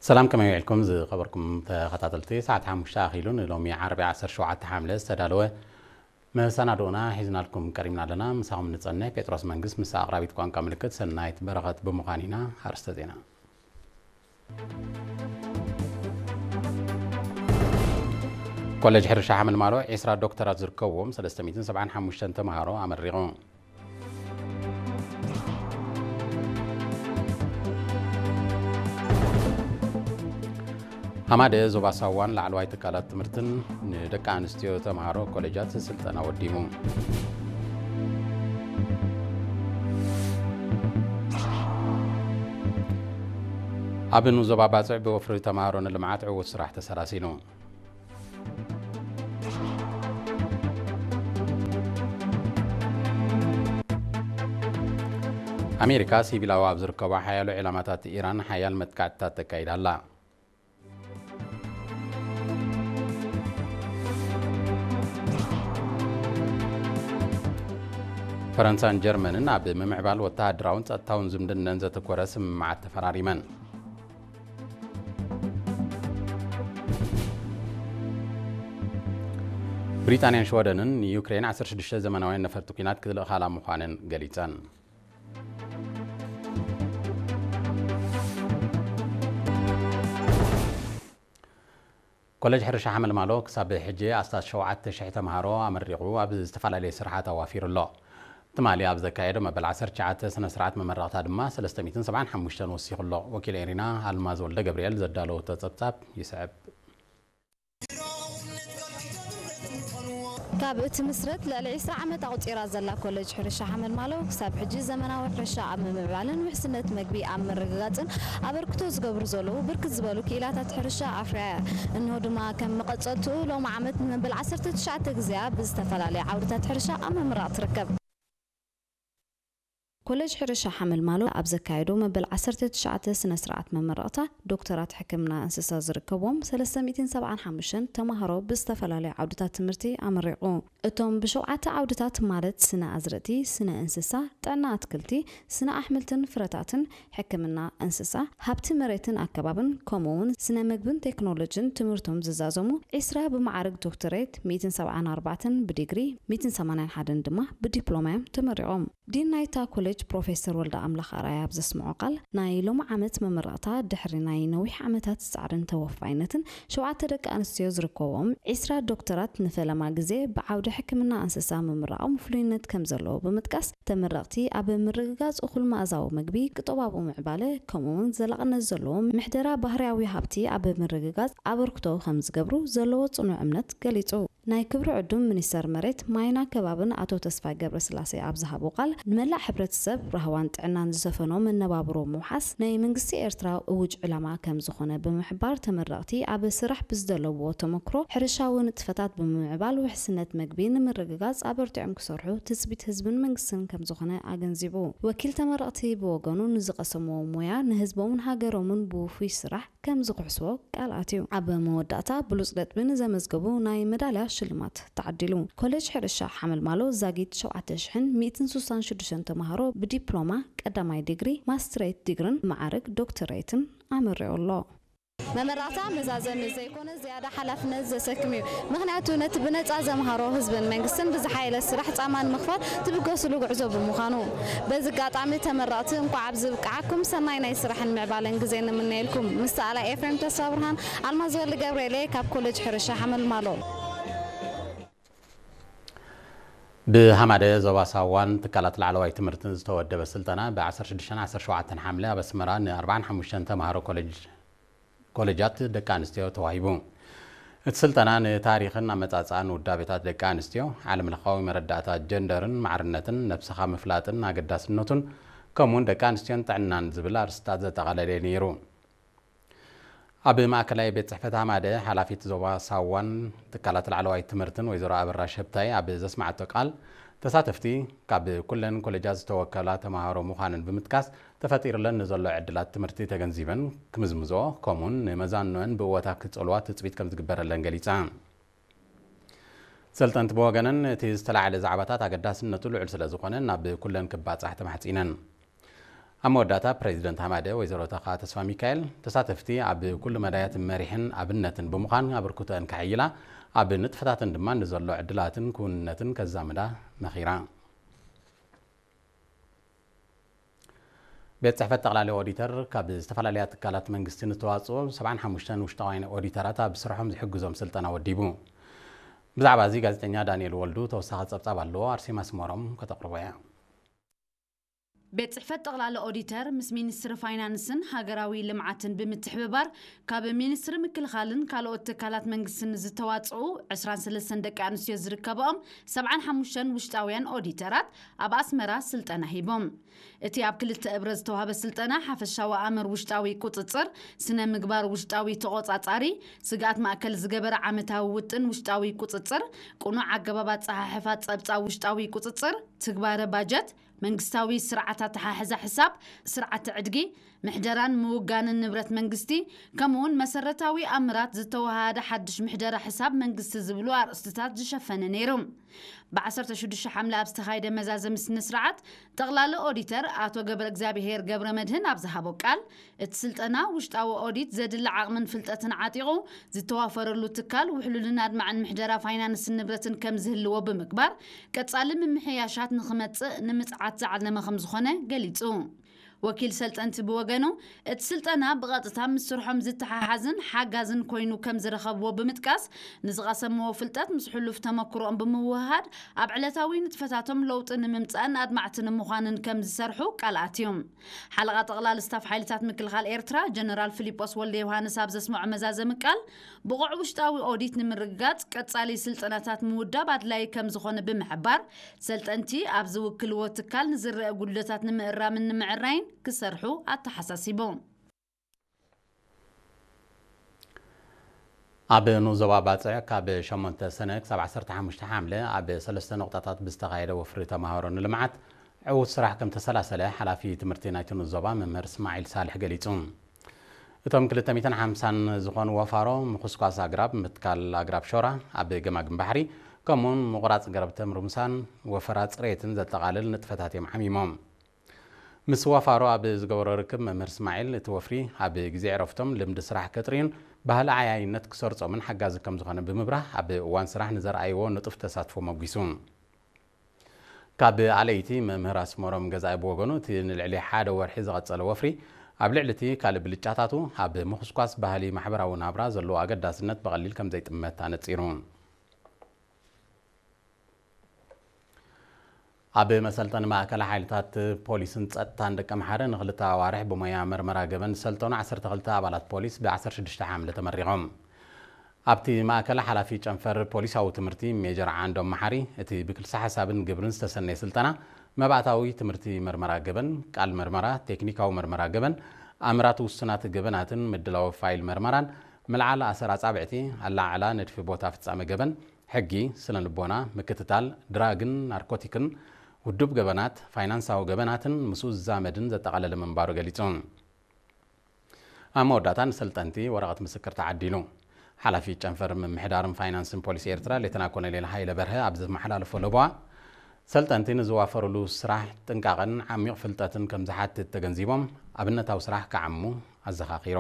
ሰላም፣ ከመይ ውዒልኩም ዝኸበርኩም ተኸታተልቲ? ሰዓት ሓሙሽተ ኣኺሉ ንሎሚ ዓርቢ ዓሰርተ ሸውዓተ ሓምለ ዝተዳለወ መሰናድኦና ሒዝናልኩም ቀሪብና ኣለና። ምሳኹም ንጸንሕ ጴጥሮስ መንግስት ምስ ኣቕራቢት ቋንቋ ምልክት ሰናይት በረኸት ብምዃን ኢና። ኣርእስተ ዜና። ኮሌጅ ሕርሻ ሓመልማሎ ዒስራ ዶክተራት ዝርከብዎም ሰለስተ ሚእትን ሰብዓን ሓሙሽተን ተምሃሮ ኣመሪቑ። ሃማደ ዞባ ሳዋን ላዕለዋይ ትካላት ትምህርትን ንደቂ ኣንስትዮ ተምሃሮ ኮሌጃት ስልጠና ወዲሙ። ኣብ ንኡስ ዞባ ባጽዕ ብወፍሪ ተምሃሮ ንልምዓት ዕዉት ስራሕ ተሰላሲሉ። ኣሜሪካ ሲቪላዊ ኣብ ዝርከባ ሓያሎ ዒላማታት ኢራን ሓያል መጥቃዕትታት ተካይዳ ኣላ። ፈረንሳን ጀርመንን ኣብ ምምዕባል ወተሃደራውን ጸጥታውን ዝምድነን ዘተኮረ ስምምዓት ተፈራሪመን። ብሪጣንያን ሽወደንን ንዩክሬን ዓሰርተ ሽዱሽተ ዘመናውያን ነፈርቲ ኲናት ክልእኻላ ምዃነን ገሊጸን። ኮሌጅ ሕርሻ ሓመልማሎ ክሳብ ሕጂ ኣስታት ሸውዓተ ሽሕ ተምሃሮ ኣመሪቑ ኣብ ዝተፈላለየ ስራሓት ኣዋፊሩ ኣሎ። ትማሊ ኣብ ዘካየዶ መበል ዓሰርተ ትሽዓተ ስነ ስርዓት መመረቕታ ድማ ሰለስተ ሚእትን ሰብዓን ሓሙሽተን ወሲኹ ኣሎ። ወኪል ኤሪና ኣልማዝ ወልደ ገብርኤል ዘዳለወቶ ጸብጻብ ይስዕብ። ካብ እትምስረት ልዕሊ ዒስራ ዓመት ኣቑጺራ ዘላ ኮሌጅ ሕርሻ ሓመልማሎ ክሳብ ሕጂ ዘመናዊ ሕርሻ ኣብ ምምዕባልን ውሕስነት መግቢ ኣብ ምርግጋጽን ኣበርክቶ ዝገብሩ ዘለዉ ብርክት ዝበሉ ክኢላታት ሕርሻ ኣፍርያ እያ። እንሆ ድማ ከም መቐጸልትኡ ሎሚ ዓመት ንመበል ዓሰርተ ትሽዓተ ግዜኣ ብዝተፈላለየ ዓውድታት ሕርሻ ኣብ ምምራቕ ትርከብ። ኮሌጅ ሕርሻ ሓመልማሎ ኣብ ዘካየዶ መበል ዓሰርተ ትሽዓተ ስነ ስርዓት መመረቕታ ዶክተራት ሕክምና እንስሳ ዝርከብዎም ሰለስተ ሚእትን ሰብዓን ሓሙሽተን ተምሃሮ ብዝተፈላለዩ ዓውድታት ትምህርቲ ኣመሪቑ። እቶም ብሸውዓተ ዓውድታት ማለት ስነ ኣዝርእቲ፣ ስነ እንስሳ፣ ጥዕና ኣትክልቲ፣ ስነ ኣሕምልትን ፍረታትን፣ ሕክምና እንስሳ፣ ሃብቲ መሬትን ኣከባብን ከምኡ እውን ስነ ምግብን ቴክኖሎጂን ትምህርቶም ዝዛዘሙ ዒስራ ብመዓርግ ዶክተሬት፣ ሚእትን ሰብዓን ኣርባዕተን ብዲግሪ፣ ሚእትን ሰማንያን ሓደን ድማ ብዲፕሎማ እዮም ተመሪቖም። ዲን ናይታ ኮሌጅ ፕሮፌሰር ወልደ ኣምላኽ ኣርኣያ ኣብ ዘስምዖ ቃል፣ ናይ ሎሚ ዓመት መመረቕታ ድሕሪ ናይ ነዊሕ ዓመታት ጻዕርን ተወፋይነትን ሸውዓተ ደቂ ኣንስትዮ ዝርከብዎም ዒስራ ዶክተራት ንፈለማ ግዜ ብዓውዲ ሕክምና እንስሳ ምምራቖም ፍሉይነት ከም ዘለዎ ብምጥቃስ፣ ተመረቕቲ ኣብ ምርግጋጽ እኹል መኣዛዊ መግቢ፣ ቁጠባዊ ምዕባለ፣ ከምኡ'ውን ዘላቕነት ዘለዎ ምሕደራ ባህርያዊ ሃብቲ ኣብ ምርግጋጽ ኣበርክቶ ከም ዝገብሩ ዘለዎ ጽኑዕ እምነት ገሊጹ። ናይ ክብሪ ዕዱም ሚኒስተር መሬት፣ ማይን ኣከባብን ኣቶ ተስፋይ ገብረስላሴ ኣብ ዝሃቦ ቃል፣ ንመላእ ሕብረተሰብ ራህዋን ጥዕናን ዝሰፈኖ መነባብሮ ምውሓስ ናይ መንግስቲ ኤርትራ እውጅ ዕላማ ከም ዝኾነ ብምሕባር፣ ተመረቕቲ ኣብ ስራሕ ብዝደለብዎ ተመክሮ ሕርሻዊ ንጥፈታት ብምምዕባል ውሕስነት መግቢ ንምርግጋጽ ኣበርቲዖም ክሰርሑ ትጽቢት ህዝብን መንግስትን ከም ዝኾነ ኣገንዚቡ። ወኪል ተመረቕቲ ብወገኑ ንዝቐሰምዎ ሞያ ንህዝቦምን ሃገሮምን ብውፉይ ስራሕ ከም ዝኽሕስዎ ቃል ኣትዩ። ኣብ መወዳእታ ብሉጽ ነጥቢ ንዘመዝገቡ ናይ መዳልያ ሽልማት ተዓዲሉ። ኮሌጅ ሕርሻ ሓመልማሎ ዛጊት ሸውዓተ ሽሕን ሚእትን ስሳን ሽዱሽተን ተምሃሮ ብዲፕሎማ ቀዳማይ ዲግሪ፣ ማስትሬት ዲግርን መዓርግ ዶክተሬትን ኣመሪቑ ኣሎ። መመራቕታ መዛዘሚ ዘይኮነ ዝያዳ ሓላፍነት ዘሰክም እዩ። ምኽንያቱ ነቲ ብነጻ ዘምሃሮ ህዝብን መንግስትን ብዝሓየለ ስራሕ ጻማ ንምኽፋል ትብገስሉ ጉዕዞ ብምዃኑ። በዚ ኣጋጣሚ ተመረቕቲ እንኳዕ ኣብዚ ብቅዓኩም፣ ሰናይ ናይ ስራሕን ምዕባለን ግዜ ንምነየልኩም። ምስ ሰኣላይ ኤፍሬም ተስፋብርሃን፣ ኣልማዝ ወልደ ገብርኤል እየ ካብ ኮሌጅ ሕርሻ ሓመልማሎ። ብሃማደ ዞባ ሳዋን ትካላት ላዕለዋይ ትምህርትን ዝተወደበ ስልጠና ብ ዓሰርተ ሽዱሽተን ዓሰርተ ሸውዓተን ሓምለ ኣብ ኣስመራ ን ኣርባዓን ሓሙሽተን ተምሃሮ ኮሌጅ ኮሌጃት ደቂ ኣንስትዮ ተዋሂቡ። እቲ ስልጠና ንታሪኽን ኣመጻጽኣን ውዳቤታት ደቂ ኣንስትዮ፣ ዓለምለኻዊ መረዳእታ ጀንደርን ማዕርነትን፣ ነብስኻ ምፍላጥን ኣገዳስነቱን፣ ከምኡውን ደቂ ኣንስትዮን ጥዕናን ዝብል ኣርእስታት ዘጠቓለለ ነይሩ። ኣብ ማእከላይ ቤት ጽሕፈት ሃማደ፣ ሓላፊት ዞባ ሳዋን ትካላት ላዕለዋይ ትምህርትን ወይዘሮ ኣበራሽ ህብታይ ኣብ ዘስማዓቶ ቃል፣ ተሳተፍቲ ካብ ኩለን ኮሌጃት ዝተወከላ ተምሃሮ ምዃነን ብምጥቃስ፣ ተፈጢሩለን ንዘሎ ዕድላት ትምህርቲ ተገንዚበን ክምዝምዝኦ፣ ከምኡውን ንመዛንኖአን ብእወታ ክጸልዋ ትጽቢት ከም ዝግበረለን ገሊጸን። ሰልጠንቲ ብወገነን፣ እቲ ዝተላዕለ ዛዕባታት ኣገዳስነቱ ልዑል ስለ ዝኾነ፣ ናብ ኩለን ክባጻሕ ተማሕጺነን። ኣብ መወዳእታ ፕሬዚደንት ሃማደ ወይዘሮ ተኻ ተስፋ ሚካኤል ተሳተፍቲ ኣብ ኩሉ መዳያት መሪሕን ኣብነትን ብምዃን ኣበርክቶአን ከሐይላ ኣብ ንጥፈታተን ድማ ንዘሎ ዕድላትን ክውንነትን ከዛምዳ መኺራ። ቤት ጽሕፈት ጠቕላሊ ኦዲተር ካብ ዝተፈላለያ ትካላት መንግስቲ ንተዋጽኦ ሰብዓን ሓሙሽተን ውሽጣውያን ኦዲተራት ኣብ ስርሖም ዝሕግዞም ስልጠና ወዲቡ። ብዛዕባ እዚ ጋዜጠኛ ዳንኤል ወልዱ ተወሳኺ ጸብጻብ ኣለዎ፣ ኣርሴማ ስመሮም ከተቕርቦ እያ። ቤት ጽሕፈት ጠቕላሊ ኦዲተር ምስ ሚኒስትሪ ፋይናንስን ሃገራዊ ልምዓትን ብምትሕብባር ካብ ሚኒስትሪ ምክልኻልን ካልኦት ትካላት መንግስትን ዝተዋጽኡ ዕስራን ሰለስተን ደቂ ኣንስትዮ ዝርከብኦም ሰብዓን ሓሙሽተን ውሽጣውያን ኦዲተራት ኣብ ኣስመራ ስልጠና ሂቦም። እቲ ኣብ ክልተ እብረ ዝተዋህበ ስልጠና ሓፈሻዊ ኣምር ውሽጣዊ ቁጽጽር፣ ስነ ምግባር ውሽጣዊ ተቖጻጻሪ፣ ስግኣት ማእከል ዝገበረ ዓመታዊ ውጥን ውሽጣዊ ቁጽጽር፣ ቅኑዕ ኣገባብ ኣጸሓሕፋ ጸብጻብ ውሽጣዊ ቁጽጽር፣ ትግባረ ባጀት፣ መንግስታዊ ስርዓት ኣተሓሕዛ ሕሳብ፣ ስርዓተ ዕድጊ፣ ምሕደራን ምውጋንን ንብረት መንግስቲ፣ ከምኡውን መሰረታዊ ኣምራት ዝተወሃሃደ ሓድሽ ምሕደራ ሕሳብ መንግስቲ ዝብሉ ኣርእስትታት ዝሸፈነ ነይሩ። ብ ዓሰርተ ሽዱሽተ ሓምለ ኣብ ዝተኻየደ መዛዘሚ ስነ ስርዓት፣ ጠቕላሊ ኦዲተር ኣቶ ገብረ እግዚኣብሄር ገብረ መድህን ኣብ ዝሃቦ ቃል፣ እቲ ስልጠና ውሽጣዊ ኦዲት ዘድሊ ዓቕምን ፍልጠትን ዓጢቑ ዝተዋፈረሉ ትካል ውሕሉልን ኣድማዕን ምሕደራ ፋይናንስን ንብረትን ከም ዝህልዎ ብምግባር፣ ቀጻሊ ምምሕያሻት ንኽመጽእ ንምጽዓት ዝዓለመ ከም ዝኾነ ገሊጹ። ወኪል ሰልጠንቲ ብወገኑ፣ እቲ ስልጠና ብቐጥታ ምስ ስርሖም ዝተሓሓዝን ሓጋዝን ኮይኑ ከም ዝረኸብዎ ብምጥቃስ፣ ንዝቐሰምዎ ፍልጠት ምስ ሕሉፍ ተመክሮኦም ብምውህሃድ ኣብ ዕለታዊ ንጥፈታቶም ለውጢ ንምምጻእን ኣድማዕቲ ንምዃንን ከም ዝሰርሑ ቃል ኣትዮም። ሓለቓ ጠቕላሊ ስታፍ ሓይልታት ምክልኻል ኤርትራ ጀነራል ፊሊጶስ ወልደ ዮሃንስ ኣብ ዘስምዖ መዛዘሚ ቃል፣ ብቑዕ ውሽጣዊ ኦዲት ንምርግጋጽ ቀጻሊ ስልጠናታት ምውዳብ ኣድላዪ ከም ዝኾነ ብምሕባር፣ ሰልጠንቲ ኣብ ዝውክልዎ ትካል ንዝረአ ጉድለታት ንምእራምን ንምዕራይን ክሰርሑ ኣተሓሳሲቡ። ኣብ ንኡስ ዞባ ባጽዕ ካብ ሸሞንተ ሰነ ክሳብ ዓሰርተ ሓሙሽተ ሓምለ ኣብ ሰለስተ ነቑጣታት ብዝተኻየደ ወፍሪ ተማሃሮ ንልምዓት ዕዉት ስራሕ ከም ተሰላሰለ ሓላፊ ትምህርቲ ናይቲ ንኡስ ዞባ መምህር እስማዒል ሳልሕ ገሊጹ። እቶም ክልተ ሚእትን ሓምሳን ዝኾኑ ወፋሮ ምኹስኳስ ኣግራብ፣ ምትካል ኣግራብ ሾራ ኣብ ገማግም ባሕሪ፣ ከምኡውን ምቑራጽ ገረብ ተምሪ ምሳን ወፈራ ጽሬትን ዘጠቓልል ንጥፈታት እዮም ዓሚሞም። ምስ ወፋሮ ኣብ ዝገበሮ ርክብ መምህር እስማዒል እቲ ወፍሪ ኣብ ግዜ ዕረፍቶም ልምዲ ስራሕ ከጥርዩን ባህሊ ዓያይነት ክሰርጾምን ሓጋዚ ከም ዝኾነ ብምብራህ ኣብ እዋን ስራሕ ንዘርኣይዎ ንጡፍ ተሳትፎ መጒሱ። ካብ ኣለይቲ መምህር ኣስመሮም ገዛኢ ብወገኑ እቲ ንልዕሊ ሓደ ወርሒ ዝቐጸለ ወፍሪ ኣብ ልዕሊ እቲ ካልእ ብልጫታቱ ኣብ ምኹስኳስ ባህሊ ማሕበራዊ ናብራ ዘለዎ ኣገዳስነት ብቐሊል ከም ዘይጥመት ኣነጺሩ። ኣብ መሰልጠኒ ማእከል ሓይልታት ፖሊስን ጸጥታን ደቂ ኣምሓረ ንክልተ ኣዋርሕ ብሞያ መርመራ ገበን ዝሰልጠኑ ዓሰርተ ክልተ ኣባላት ፖሊስ ብ ዓሰርተ ሽዱሽተ ሓምለ ተመሪቖም። ኣብቲ ማእከል ሓላፊ ጨንፈር ፖሊሳዊ ትምህርቲ ሜጀር ዓንዶም መሓሪ፣ እቲ ብክልሲ ሓሳብን ግብርን ዝተሰነየ ስልጠና መባእታዊ ትምህርቲ መርመራ ገበን፣ ቃል መርመራ፣ ቴክኒካዊ መርመራ ገበን፣ ኣምራት ውሱናት ገበናትን ምድላው ፋይል መርመራን፣ ምልዓል ኣሰር ኣጻብዕቲ፣ ኣላዓዕላ ንድፊ ቦታ ፍጻመ ገበን፣ ሕጊ፣ ስነ ልቦና፣ ምክትታል፣ ድራግን ናርኮቲክን፣ ውዱብ ገበናት፣ ፋይናንሳዊ ገበናትን ምስኡ ዝዛመድን ዘጠቓለለ ምንባሩ ገሊጹ። ኣብ መወዳእታ ንሰልጠንቲ ወረቐት ምስክር ተዓዲሉ። ሓላፊ ጨንፈር ምምሕዳርን ፋይናንስን ፖሊስ ኤርትራ ሌተና ኮሎኔል ሃይለ በርሀ ኣብ ዘመሓላለፎ ለበዋ፣ ሰልጠንቲ ንዝዋፈሩሉ ስራሕ ጥንቃቐን ዓሚቕ ፍልጠትን ከም ዝሓትት ተገንዚቦም ኣብነታዊ ስራሕ ክዓሙ ኣዘኻኺሩ።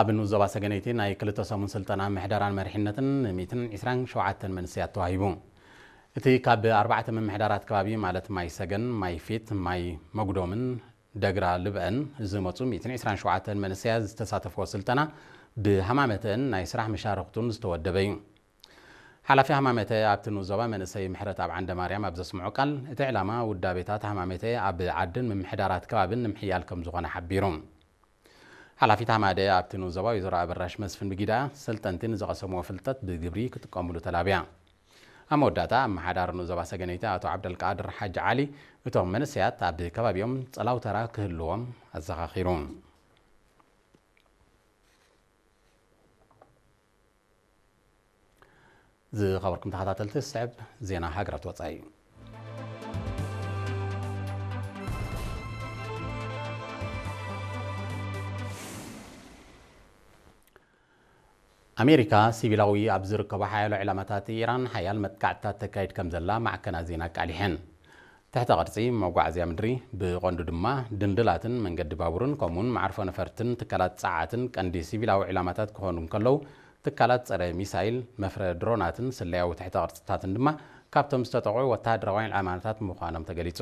ኣብ ንኡስ ዞባ ሰገነይቲ ናይ ክልተ ሰሙን ስልጠና ምሕደራን መሪሕነትን ን ሚእትን ዕስራን ሸውዓተን መንእሰያት ተዋሂቡ። እቲ ካብ ኣርባዕተ ምምሕዳራት ከባቢ ማለት ማይ ሰገን፣ ማይ ፊት፣ ማይ መጉዶምን ደግራ ልብአን ዝመጹ ሚእትን ዕስራን ሸውዓተን መንእሰያት ዝተሳተፍዎ ስልጠና ብሃማመተአን ናይ ስራሕ መሻርኽቱን ዝተወደበ እዩ። ሓላፊ ሃማመተ ኣብቲ ንኡስ ዞባ መንእሰይ ምሕረትኣብ ዓንደማርያም ኣብ ዘስምዖ ቃል፣ እቲ ዕላማ ውዳቤታት ሃማመተ ኣብ ዓድን ምምሕዳራት ከባብን ንምሕያል ከም ዝኾነ ሓቢሩ። ሓላፊት ሃማደ ኣብቲ ንኡስ ዞባ ወይዘሮ ኣበራሽ መስፍን ብጊዳ፣ ሰልጠንቲ ንዝቐሰምዎ ፍልጠት ብግብሪ ክጥቀምሉ ተላብያ። ኣብ መወዳእታ ኣመሓዳሪ ንኡስ ዞባ ሰገነይቲ ኣቶ ዓብደልቃድር ሓጂ ዓሊ፣ እቶም መንእሰያት ኣብ ከባቢኦም ጸላው ተራ ክህልዎም ኣዘኻኺሩ። ዝኸበርኩም ተኸታተልቲ፣ ዝስዕብ ዜና ሃገራት ወጻኢ እዩ። ኣሜሪካ ሲቪላዊ ኣብ ዝርከቡ ሓያሎ ዕላማታት ኢራን ሓያል መጥቃዕትታት ተካይድ ከም ዘላ ማዕከናት ዜና ኣቃሊሐን። ትሕተ ቅርጺ መጓዓዝያ ምድሪ፣ ብቐንዱ ድማ ድንድላትን መንገዲ ባቡርን ከምኡውን መዓርፎ ነፈርትን ትካላት ጸዓትን ቀንዲ ሲቪላዊ ዕላማታት ክኾኑ እንከለዉ፣ ትካላት ጸረ ሚሳይል፣ መፍረ ድሮናትን ስለያዊ ትሕተ ቅርጽታትን ድማ ካብቶም ዝተጠቕዑ ወተሃደራውያን ዕላማታት ምዃኖም ተገሊጹ።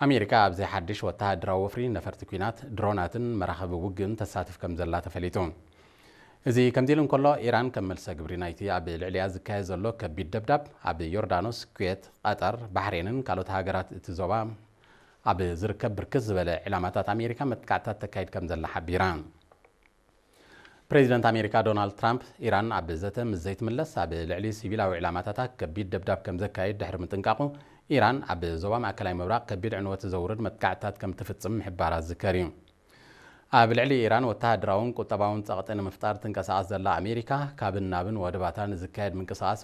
ኣሜሪካ ኣብዚ ሓድሽ ወተሃደራዊ ወፍሪ ነፈርቲ ኲናት፣ ድሮናትን መራኸቢ ውግእን ተሳትፍ ከም ዘላ ተፈሊጡ። እዚ ከምዚ ኢሉ እንከሎ፣ ኢራን ከም መልሰ ግብሪ ናይቲ ኣብ ልዕሊኣ ዝካየድ ዘሎ ከቢድ ደብዳብ፣ ኣብ ዮርዳኖስ፣ ኩዌት፣ ቀጠር፣ ባሕሬንን ካልኦት ሃገራት እቲ ዞባ ኣብ ዝርከብ ብርክት ዝበለ ዕላማታት ኣሜሪካ መጥቃዕትታት ተካይድ ከም ዘላ ሓቢራ። ፕሬዚደንት ኣሜሪካ ዶናልድ ትራምፕ፣ ኢራን ኣብ ዘተ ምስ ዘይትምለስ ኣብ ልዕሊ ሲቪላዊ ዕላማታታ ከቢድ ደብዳብ ከም ዘካይድ ድሕሪ ምጥንቃቑ፣ ኢራን ኣብ ዞባ ማእከላይ ምብራቕ ከቢድ ዕንወት ዘውርድ መጥቃዕትታት ከም ትፍጽም ምሕባራ ዝዝከር እዩ። ኣብ ልዕሊ ኢራን ወተሃደራውን ቁጠባውን ጸቕጢ ንምፍጣር ትንቀሳቐስ ዘላ ኣሜሪካ፣ ካብን ናብን ወደባታ ንዝካየድ ምንቅስቓስ